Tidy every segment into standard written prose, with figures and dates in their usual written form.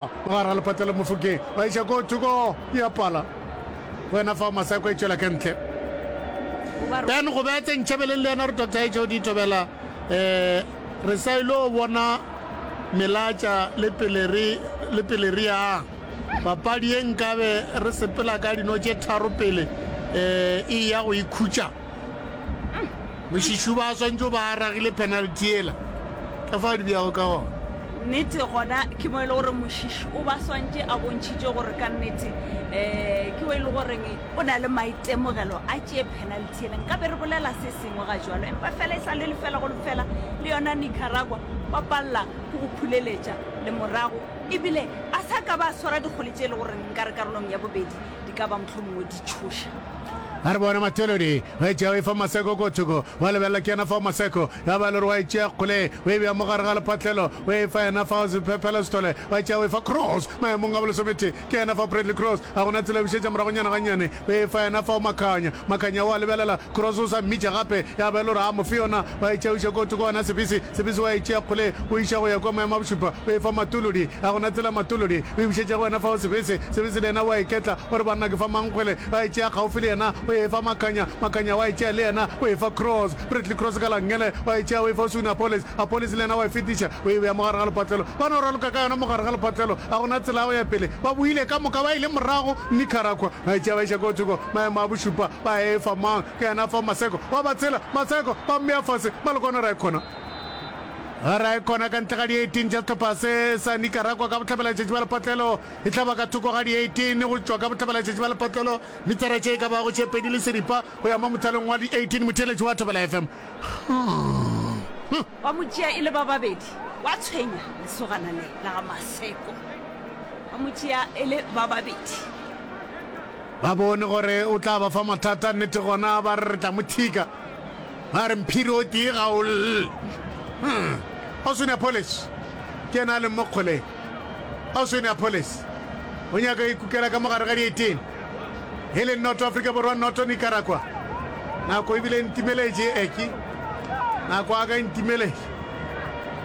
Gare ga lepatelo Mofokeng ba iša ko thoko ya pala wena fa Maseko e tšwela ka ntle. Ben go betse ntšhebeleng le yena re Dr. HOD Thobela eh re sa ile bona melatša le pele re le pele re yang papadi ye nkabe re sepela ka dino tše tharo pele eh e ya go ikhutša Mošišu ba swantšo ba ragile penalty yela ka fao di bjago ka gona. Nnete gona ke mo e le gore Mošiši o ba swantše a bontšhitše gore ka nnete um ke o e le goreng o na le maitemogelo a tšee penalty yela. Nka be re bolela se sengwe ga jwalo empa fela e sa le lefela go lefela le yona Nicaragua ba palela ke go phuleletša le morago ebile a sa ka ba swara dikgole tše e le goreng nka re karolong ya bobedi di ka ba mohlomongwe di tšhoša. A re bone Mathelodi o e tšea o e fa Maseko ko thoko, wa lebelela ke yena fao Maseko, ya ba e le gore wa e tšea kgole o e bea mo gare ga lephatlelo o e fa yena fao Sephephelo Sithole, wa e tšea o e fa Cross maemong a bolesometee ke yena fao Bradley Cross, ga gona tsela e bušetša moragonyana gannyane o e fa yena fao Makhanya, Makhanya wa lebelela Cross o sa mmitša gape ya ba e le gore a mo fe yona wa e tšea o iša ko thoko gona Sebisi, Sebisi wa e tšea kgole o iša go ya kwa maemo a bošupa o e fa Matolodi, ga gona tsela Matolodi o e bušetša go yena fao Sebese, Sebese le yena wa e ketla o re banna ke fa mang kgwele, ba e tšea kgaufsi le yena o e fa Makhanya, Makhanya wa e tšea le yena o e fa Cross, Bradley Cross ka la nngele wa e tšea o e fa Oswin Appollis, Appollis le yena wa e fetiša o e bea mo gare ga lepatlelo, ba no raloka ka yona mo gare ga lepatlelo, ga gona tsela ya go ya pele, ba boile ka moka ba ile morago Nicaragua ba e tšea ba iša ko thoko maemo a bošupa ba e fa mang, ke yena fa Maseko wa ba tshela, Maseko ba mmea fase, ba le kona ra e kgona. Ra e kgona ka ntle ga di 18 tša sehlopha se sa Nicaragua ka bohlabela-tšatši bja lepatlelo. E tla ba ka thoko ga di 18 go tšwa ka bohlabela-tšatši bja lepatlelo, metara tše e ka bago tše pedi le seripa go ya mo mothalong wa di 18. Motheeletši wa Thobela FM. Ba mo tšea e le ba babedi, wa tshwenya lesogana le la ga Maseko. Ba mo tšea e le ba babedi. Ba bone gore o tla ba fa mathata, nnete gona ba re re tla mo thika. Ba re mphiri o tee ga o lle. Hmm. Oswin Appollis ke yena a leng mo kgoleng. Oswin Appollis o nyaka go ikukela ka mogare ga di-18. E le noto Afrika Borwa, noto Nicaragua. Nako ebile e ntimeletše eki. Nako a ka e ntimeletše.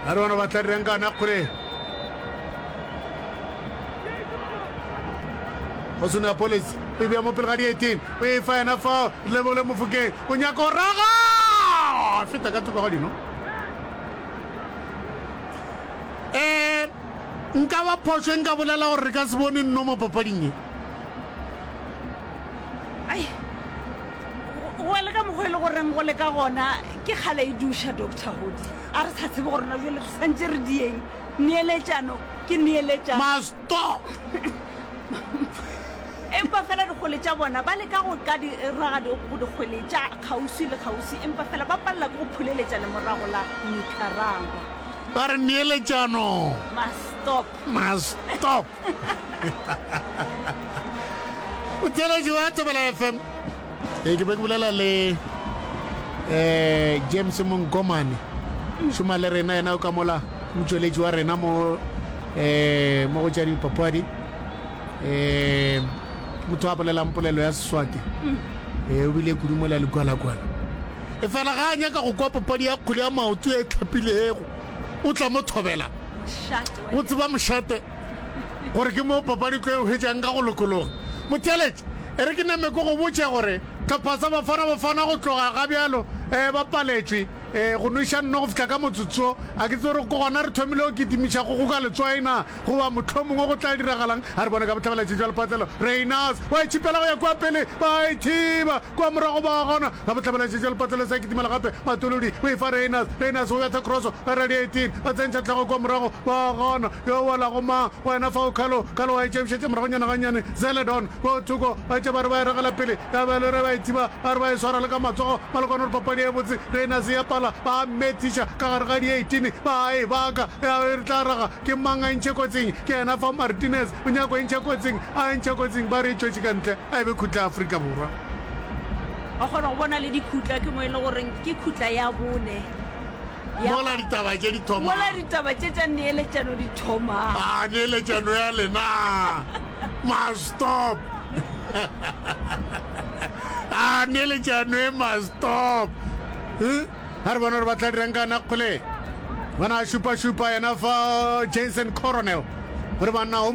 A re bona ba tla dirang ka yona kgoleng. Oswin Appollis o e bea mo pele ga di-18. O e fa yena fao Lebole Mofokeng. O nyaka go raga! Feta ka thoko ga dino. Eh, nka ba phošo e nka bolela gore re ka se bone nno mo papading ye. Ai, go le ka mokgwa e le goreng go le ka gona ke kgale e duša Doctor Hodi. A re sa tsebe gore na jale re santse re dieng. Neeletšano ke neeletšano. Masto! Empa fela dikgwele tša bona ba leka go ka di raga go dikgwele tša kgauswi le kgauswi, empa fela ba palela ke go phuleletša lemorago la Nicaragua. Ba re neeletšano. Mastop. Mastop. O theeletše wa Thobela FM. Ee, ke be ke bolela le eh James Monkomane. Šoma le rena yena o ka mola motšweletši wa rena mo eh mo go tša dipapadi. Eh motho a bolelang polelo ya Seswati. Eh o bile kudu mola lekwalakwala. E fela ga a nyaka go kwa papadi ya kgwele ya maoto e tlhapilego. O tla mo thobela. O tseba mošate. Gore ke mo papadi tlo e hwetšang ka go lokologa. Motheeletši, e re ke name ke go botše gore hlopha sa Bafana Bafana go tloga ga bjalo um ba paletšwe um go nweša nno go fihla ka motsotso. A ke tsebe gore ke gona re thomile go kitimiša go goka letswai na goba mohlomongwe go tla diragalang. A re bone ka bohlabela jwa lepatlelo. Rayners wa e tšhipela go ya kua pele, ba e thiba kua morago ba gona. Ka bohlabela jwa lepatlelo sa kitimela gape Matolodi o e fa Rayners. Rayners o betha cross ba radiating ba tsentšha hlogo kua morago ba gona. Yo welago mang? Wena fao Carlo. Carlo wa e tšebišetša moragonyana gannyane. Zeledon ko thoko ba tše ba re ba e ragela pele ya ba le re ba e thiba ba re ba e swara le ka matsogo ba le kwana gore papadi e botse Rayners ya pala ba methiša ka gare ga di-18 ba e baka ya re tla raga ke mang a e ntšhe kotsing ke yena fa Martinez o nyako e ntšha kotsing a e ntšha kotsing ba re e tšwetše ka ntle a e be khutla ya Afrika Borwa. Wa kgona go bona le dikhutla ke mo e le goreng ke khutla ya bone ya Mola ditaba tše di thomang. Mola ditaba tše tša neeletšano di thomang. A neeletšano ya lena. Must stop. A neeletšano e must stop. Eh? A re bona gore ba tla dirang ka yona kgole. Bona a šupa-šupa yena fa Jason Coronel. Gore banna o.